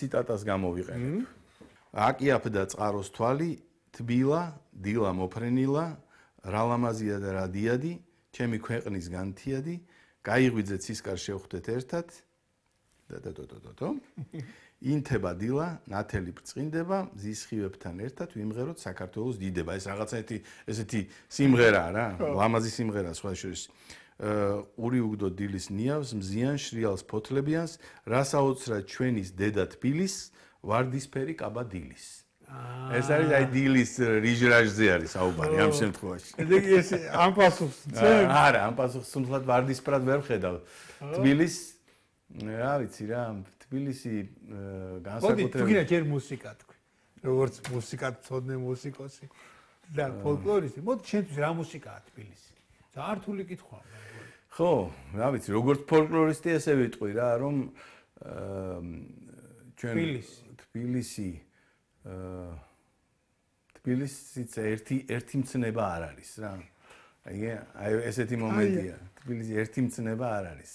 ციტატას გამოვიყენებ. აკიაფდა წყაროს თვალი, თბილა, დილა მოფრენილა, რა ლამაზია და რა დიადი, ჩემი ქვეყნის განთიადი, გაიღვიძე ცისკარ შევხვდეთ ერთად. ინთება დილა, ნათელი ბრწყინდება, მზის ხივებთან ერთად ვიმღეროთ საქართველოს დიდება. ეს რაღაცა ესეთი სიმღერაა რა, ლამაზი სიმღერაა სხვა შორის. ური უგდო დილის ნიავს, მზიან შრიალს ფოთლებიანს, რას აოცრად ჩვენის დედა თბილის, ვარდისფერი კაბა დილის. ეს არის აი დილის რიჟრაჟზე არის საუბარი ამ შემთხვევაში. ეს ამ პასუხს არა, ამ პასუხს თუნდაც ვარდისფრად ვერ ხედავ. თბილის რა ვიცი რა, თბილისი განსაკუთრებით. მოდი, თუ გინდა ჯერ მუსიკა თქვი. როგორც მუსიკა ცოდნე მუსიკოსი და ფოლკლორისტი. მოდი, შენთვის რა მუსიკაა თბილისი? ზართული კითხვაა. ხო, რა ვიცი, როგორც ფოლკლორისტი ესე ვიტყვი რა, რომ ჩვენ თბილისიც ერთი მცნება არ არის რა. აი ესეთი მომენტია. თბილისი ერთი მცნება არ არის.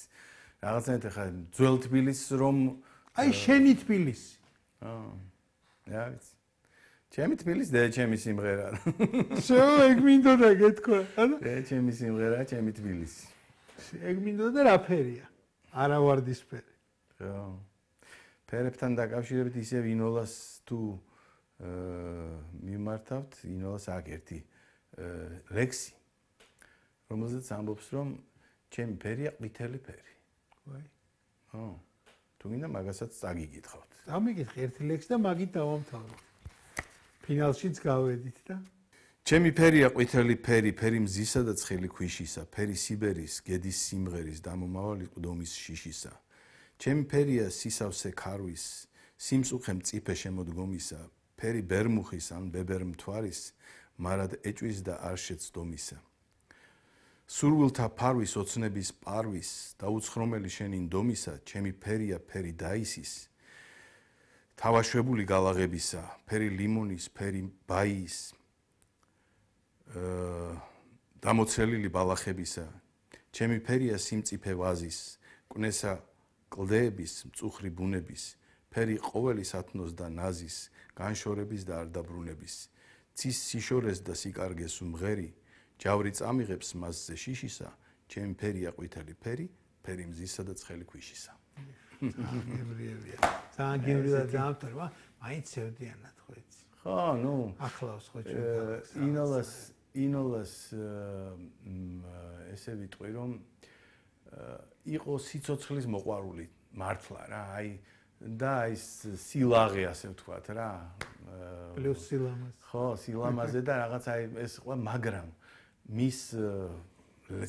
რაღაცნაირად ხა ძველ თბილისს რომ აი შენი თბილისი. რა ვიცი. ჩემი თბილისი და ჩემი სიმღერა. შო ეგ მინდოდა გეთქვა, ანუ? ჩემი სიმღერა, ჩემი თბილისი. ეგ მინდოდა რა ფერია? არა ვარდისფერი. ხო. ფერებთან დაკავშირებით ისევ ინოლას თუ მიმართავთ, ინოლას აქ ერთი ლექსი, რომელზეც ამბობს, რომ ჩემი ფერია ყვითელი ფერი. ვაი. ხო. თუ გინდა მაგასაც წაგიგითხავთ. წამიგითხე ერთი ლექსი და მაგით დავამთავროთ. ფინალშიც გავედით და ჩემი ფერია ყვითელი ფერი, ფერი მზისა და ცხელი ქვიშისა, ფერი სიბერის, გედის სიმღერის, დამომავალი ყდომის შიშისა. ჩემი ფერია სისავსე ქარვის, სიმწუხე მწიფე შემოდგომისა, ფერი ბერმუხის ან ბებერ მთვარის, მარად ეჭვის და არ შეცდომისა. სურვილთა ფარვის ოცნების პარვის, დაუცხრომელი შენი ნდომისა, ჩემი ფერია ფერი დაისის, თავაშვებული გალაღებისა, ფერი ლიმონის, ფერი ბაიის, დამოცელილი ბალახებისა, ჩემი ფერია სიმწიფე ვაზის, კვნესა კლდეების, მწუხრი ბუნების, ფერი ყოველი სათნოს და ნაზის, განშორების და არ დაბრუნების, ცის სიშორეს და სიკარგეს უმღერი, ჯავრი წამიღებს მასზე შიშისა, ჩემი ფერია ყვითელი ფერი, ფერი მზისა და ცხელი ქვიშისა. გემრიელია. ძალიან გემრიელად დაამთავრა, მაინც სევდიანად ხო იცი. ხო, ნუ ახლავს ხო ჩვენ. ინოლას ესე ვიტყვი რომ იყო სიცოცხლის მოყვარული მართლა რა, აი და აი სილაღე ასე ვთქვათ რა. პლუს სილამაზე. ხო, სილამაზე და რაღაც აი ეს ყველა მაგრამ მის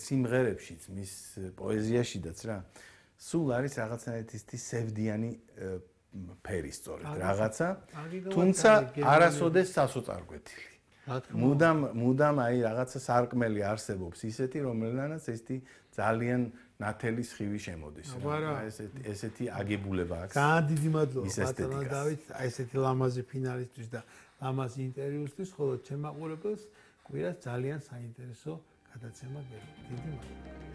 სიმღერებშიც, მის პოეზიაშიც რა. სულ არის რაღაცნაირად ის სევდიანი ფერი სწორედ რაღაცა, თუმცა არასოდეს სასოწარკვეთილი. მუდამ აი რაღაცა სარკმელი არსებობს ისეთი, რომელთანაც ესეთი ძალიან ნათელი სხივი შემოდის. ესეთი აგებულება აქვს. ძალიან დიდი მადლობა ბატონო დავით, აი ესეთი ლამაზი ფინალისტვის და ლამაზი ინტერვიუსთვის, ხოლო ჩემ მაყურებელს კვირას ძალიან საინტერესო გადაცემა გეძლო. დიდი მადლობა.